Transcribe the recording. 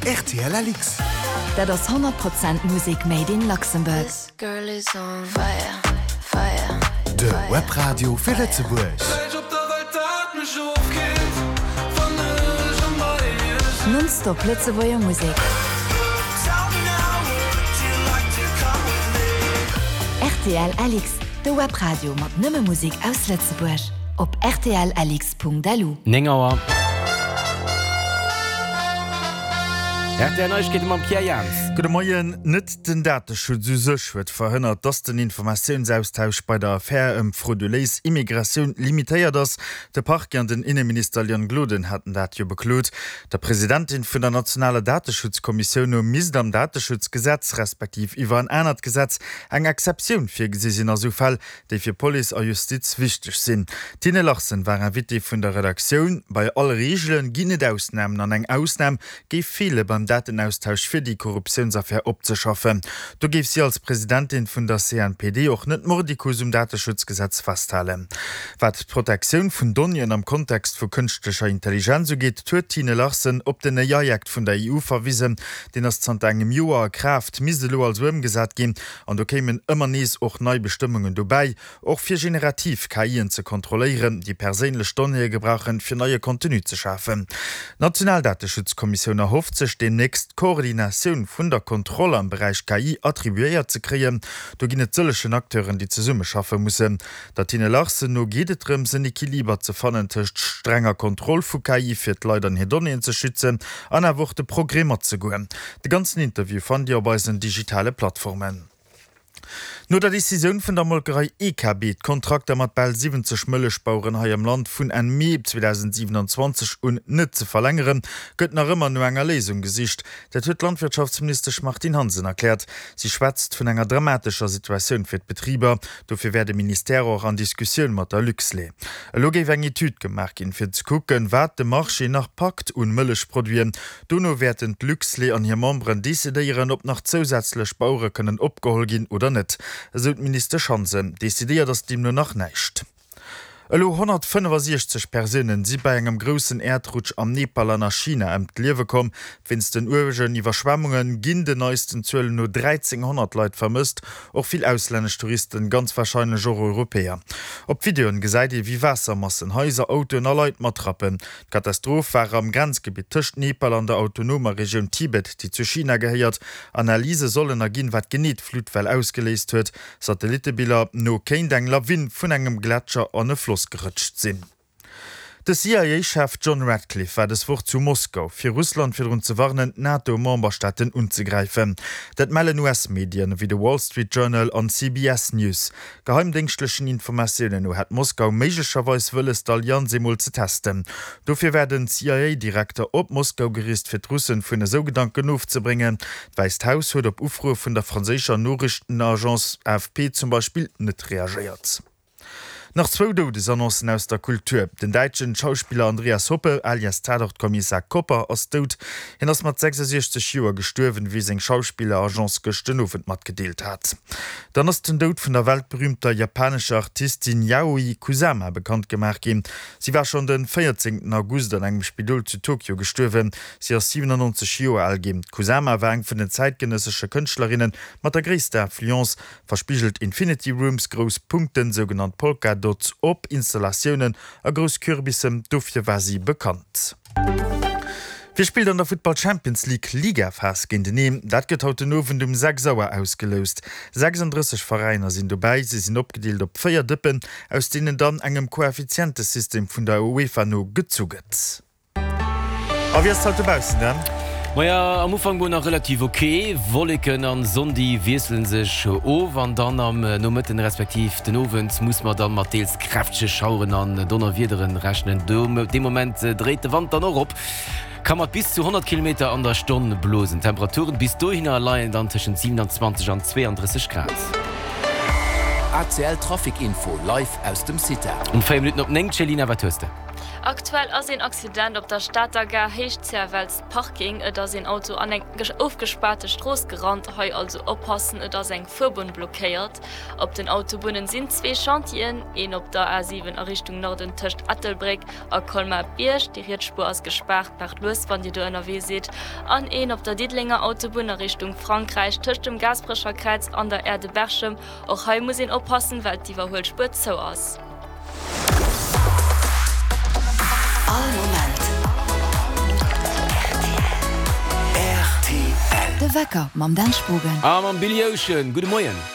Rtl LX. Dat ass 100 Prozent Musek made in Luxembourg. De Webradio fir Lëtzebuerg. Non-stop Lëtzebuerger Musek. Rtl LX, de Webradio mat nëmme Musek aus Lëtzebuerg. Op rtlx.lu. 9 Auer. Rtl Neiegkeete mam Pierre Jans. Gudde Moien. Net den Dateschutz u sech huet verhënnert, datt den Informatiounsaustausch bei der Affär ëm d'frauduléis Immigratioun limitéiert ass. De Parquet an den Inneminister Leon Gloden haten dat jo beklot. Der Presidentin vun der nationaler Dateschutzkommissioun no misst am Dateschutzgesetz, respektiv iwwer en anert Gesetz, eng Exceptioun virgesi sinn a sou Fäll, déi fir Police a Justiz wichteg sinn. D'Tine Larsen war Invitée vun der Redaktioun. Bei all Reegele ginn et Ausnamen an eng Ausnam géif feele beim Datenaustausch fir déi Korruptiounsaffär opzeschaffen. Do géif si als Presidentin vun der CNPD och net mordicus um Dateschutzgesetz festhalen. Wat d'Protektioun vun Donnéeën am Kontext vu kënschtlecher Intelligenz ugeet, huet d'Tine Larsen op den AI Act vun der EU verwisen. Deen ass zanter engem Joer a Kraaft, misst elo also ëmgesat ginn. An do kéimen ëmmer nees och nei Bestëmmungen dobäi, och fir generativ KIen ze kontrolléieren, déi perséinlech Donnéeë gebrauchen, fir neie Contenu ze schafen. D'National Dateschutzkommissioun erhofft sech deemnächst, d'Koordinatioun vun der Kontroll am Beräich KI attribuéiert ze kréien. Do ginn et sëllegen Acteuren, déi zesummeschaffe mussen. Der Tine Larsen no geet et drëms, en Equiliber ze fannen tëscht strenger Kontroll vu KI, fir d'Leit an hir Donnéeën ze schützen, an awer och de Progrès matzegoen. De ganzen Interview fannt Dir op eisen digitale Plattformen. No der Decisioun vun der Molkerei EKB, d'Kontrakter mat bal 70 Mëllechbaueren hei am Land vun Enn Mee 2027 un net ze verlängeren, gëtt nach ëmmer no enger Léisung gesicht. Dat huet d'Landwirtschaftsministesch Martine Hansen erkläert. Si schwätzt vun enger dramatescher Situatioun fir d'Betriber. Dofir wär de Ministère och an Diskussioun mat der Luxlait. Elo géif eng Etüd gemaach ginn, fir ze kucken, wat de Marché nach packt un Mëllechproduiten. Dono wäerten d'Luxlait an hir Memberen decidéieren, ob nach zousätzlech Bauere kënnen opgeholl ginn oder net, esou d'Ministesch Hansen. Decidéiert ass deemno nach näischt. Elo 165 Persounen si bei engem groussen Äerdrutsch am Nepal an a China ëm d'Liewe komm. Wéinst den uergen Iwwerschwemmunge ginn den neisten Zuelen no 1.300 Leit vermësst, och vill auslännesch Touristen, ganz warscheinlech och Europäer. Op Videoen gesäit ee wéi Waassermassen Haiser, Autoen a Leit matrappen. D'Katastroph war am Grenzgebitt tëscht Nepal an der autonomer Regioun Tibet, déi zu China gehéiert. Analyse sollen erginn, wat genee d'Fluttwell ausgeléist huet. Satellittebiller no kéint eng Lawin vun engem Gletscher an e Floss gerëtscht sinn. De CIA-Chef John Ratcliffe war dës Woch zu Moskau, fir Russland virdrun ze warnen, d'NATO-Memberstaaten unzegräifen. Dat mellen US-Medien ewéi de Wall Street Journal an CBS News. Geheimdéngschtlechen Informatiounen no hätt Moskau méiglecherweis wëlles, d'Allianz eemol ze testen. Dofir war den CIA-Direkter op Moskau gereest, fir d'Russen vun esou Gedanken ofzebréngen. D'Wäisst Haus huet op Ufroe vun der franséischer Noriichtenagence AFP zum Beispill net reagéiert. Nach zwou Doudesannoncen aus der Kultur, Den däitschen Schauspiller Andreas Hoppe, alias Tatort-Kommissar Kopper, ass dout. Hien ass mat 66 Joer gestuerwen, wéi seng Schauspilleragence gëscht den Owend matgedeelt hat. Dann ass den Doud vun der weltberüümter japanescher Artistin Yayoi Kusama bekannt gemaach ginn. Si war schonn den 14 August an engem Spidol zu Tokio gestuerwen. Si ass 97 Joer al ginn. D'Kusama war eng vun den zäitgenëssesche Kënschtlerinne mat der gréisster Influence. Verspigelt Infinity Rooms, grouss Punkten, sougenannt Polka Dots op Installatiounen a grouss Kürbissen, dofir war si bekannt. Wie spillt an der Futtball Champions League Ligaphas géinteneen? Dat gëtt haut den Owend um 6 Auer ausgeloust. 36 Veräiner sinn dobäi. Si sinn opgedeelt op 4 Dëppen, aus deenen dann engem Koeffizientesystem vun der UEFA no gezu gëtt. A wéi ass et haut dobaussen dann? Maja, am Ufank mol nach relativ ok, Wolleken an Sonn déi wiesselen sech of an dann am Nomëtten respektiv den Owend muss mer dann mat deels kräftege Schaueren an Donnerwiederen rechnen. Dee Moment dréit de Wand dann och op, ka mat bis zu 100 Kilometer an der Stonn blosen. D'Temperaturen bis dohinner leien dann tëschent 27 an 32 Grad. ACL Trafic Info live aus dem CITA. Um 4 Minutten op 9, Céline, wat hues de? Aktuell ass een Accident op der Stater Gare Héicht Zerwells Parking. Et ass een Auto an eng ofgespaarte Strooss gerannt. Hei also oppassen, et ass eng Fuerbunn blockéiert. Op den Autobunnen sinn zwee Chantieren, een op der A7 a Richtung Norden tëscht Ettelbréck a Colmar-Bierg, déi riets Spuer ass gespaart, maacht lues wann Dir do ënnerwee sidd, an een op der Diddelenger Autobunn a Richtung Frankräich tëscht dem Gaasperecher Kräiz an der Aire de Berchem. Och hei muss een oppassen, well d'Iwwerhuelspuer zou ass. All Moment rtl. De Wecker mam Dan Spogen. A mam Billy Ocean. Gudde Moien.